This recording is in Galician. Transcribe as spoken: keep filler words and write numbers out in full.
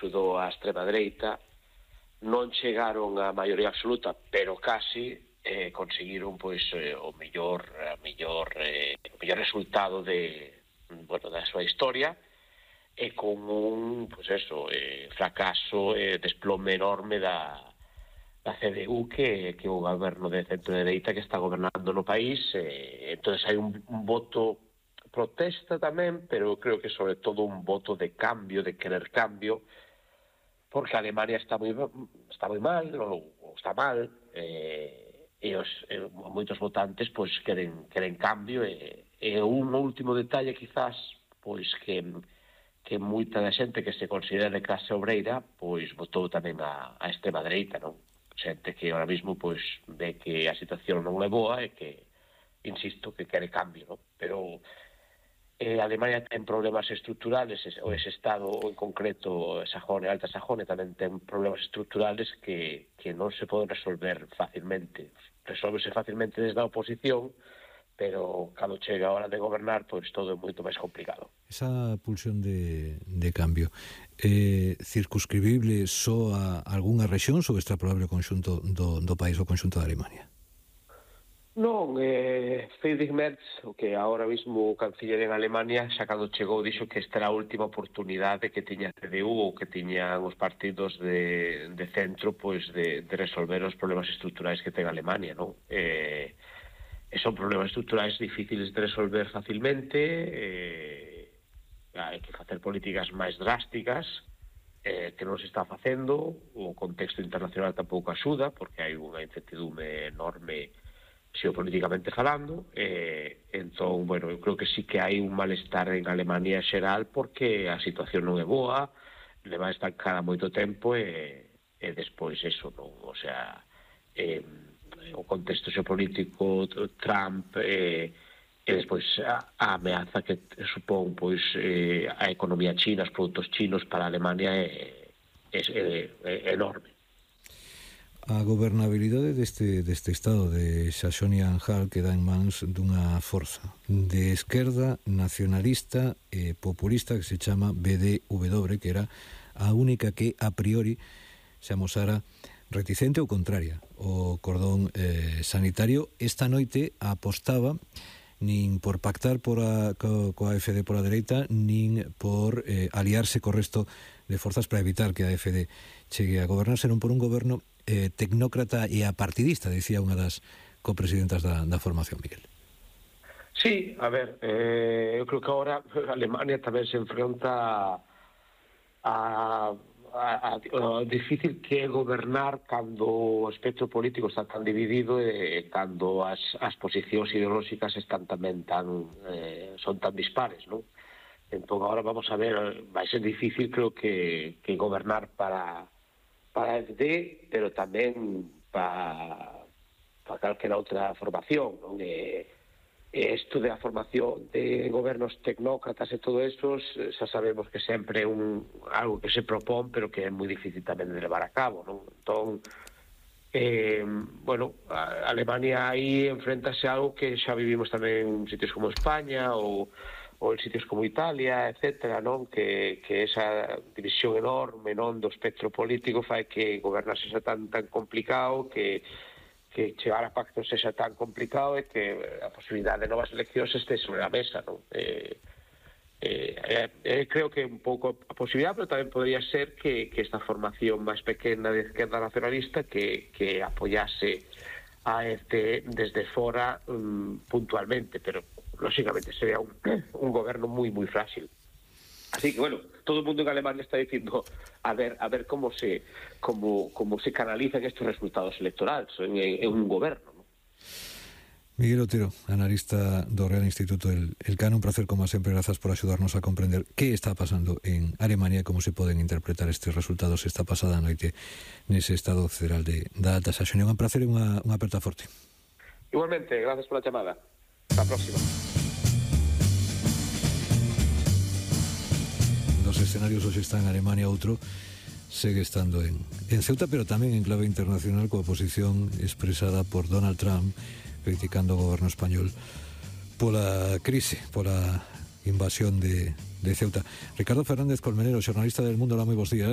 axudou a extrema dereita, non chegaron a maioría absoluta, pero casi eh, conseguiron pois eh, o mellor a mellor eh, o mellor resultado de bueno, da súa historia, e con un pois eso, eh, fracaso e eh, desplome enorme da da C D U, que que o goberno de centro dereita que está gobernando no país. Eh, entonces hai un, un voto protesta tamén, pero creo que sobre todo un voto de cambio, de querer cambio, porque Alemania está moi está moi mal, ou, ou está mal, eh, e os e moitos votantes pois queren queren cambio, e, e un último detalle quizás pois que que moita da xente que se considera de clase obreira pois votou tamén a, a extrema dereita, non? Xente que ahora mismo pois ve que a situación non é boa e que, insisto, que quere cambio, non? Pero Eh, Alemania ten problemas estructurales, ou ese estado en concreto, Sajonia, Alta Sajonia, tamén ten problemas estructurales que, que non se poden resolver facilmente. Resolvese facilmente desde a oposición, pero cando chega a hora de gobernar, pois todo é moito máis complicado. Esa pulsión de, de cambio é circunscribible só a algunha rexión ou extrapolable ao conxunto do, do país, o conxunto da Alemania? Non, eh, Friedrich Merz, o que ahora mismo o canciller en Alemania, xa cando chegou, dixo que esta era a última oportunidade que tiña a C D U ou que tiñan os partidos de, de centro pois de, de resolver os problemas estruturais que ten Alemania, non? Eh, e son problemas estruturais difíciles de resolver facilmente, eh, hai que facer políticas máis drásticas, eh, que non se está facendo, o contexto internacional tampouco axuda, porque hai unha incertidume enorme xeopolíticamente falando, e entón, bueno, eu creo que sí que hai un malestar en Alemania xeral porque a situación non é boa, leva estancada moito tempo, e, e despois eso, non, o sea, eh, o contexto xeopolítico, Trump, e, e despois a, a ameaza que supón pois eh, a economía china, os produtos chinos para a Alemania é, é, é, é enorme. A gobernabilidade deste, deste estado de Saxonia-Anhalt queda en mans dunha forza de esquerda nacionalista e populista que se chama B D W, que era a única que a priori se amosara reticente ou contraria ao cordón eh, sanitario. Esta noite apostaba nin por pactar por a, co, coa A F D pola dereita, nin por eh, aliarse co resto de forzas para evitar que a A F D chegue a gobernar, senón por un goberno eh, tecnócrata e apartidista, dicía unha das copresidentas da, da formación, Miguel. Sí, a ver, eh, eu creo que agora Alemania tamén se enfronta a, a, a, a difícil que é gobernar cando o espectro político está tan dividido e cando as, as posicións ideolóxicas están tamén tan eh, son tan dispares, non? Entón agora vamos a ver, vai ser difícil, creo que, que gobernar para para a F D, pero tamén para, para calquera outra formación, non? E, e isto da formación de gobernos tecnócratas e todo eso, xa sabemos que sempre é un, algo que se propón, pero que é moi difícil tamén de levar a cabo, non? Entón, eh, bueno, a Alemania aí enfrentase a algo que xa vivimos tamén en sitios como España ou ou en sitios como Italia, etcétera, non? Que, que esa división enorme, non, do espectro político fai que gobernar sexa tan tan complicado, que que chegar a pactos sexa tan complicado, e que a posibilidade de novas eleccións este sobre a mesa, non? Eh, eh, eh, creo que un pouco a posibilidade, pero tamén podría ser que, que esta formación máis pequena de esquerda nacionalista que, que apoyase a este desde fora um, puntualmente, pero lógicamente sería un, un goberno moi moi frágil. Así que, bueno, todo o mundo en Alemania está dicindo a ver a ver como se como como se canalizan estes resultados electorales en, en un goberno, ¿no? Miguel Otero, analista do Real Instituto El, El Cano, un placer como sempre, grazas por axudarnos a comprender que está pasando en Alemania e como se poden interpretar estes resultados esta pasada noite nese Estado Federal de, da Alta Saxonia. Un placer e unha, unha aperta forte. Igualmente, gracias por la chamada. Hasta a próxima. Dos escenarios hoxe están en Alemania, outro segue estando en, en Ceuta, pero tamén en clave internacional, coa posición expresada por Donald Trump criticando o goberno español pola crise, pola invasión de, de Ceuta. Ricardo Fernández Colmenero, xornalista del Mundo, hola, moi bons días.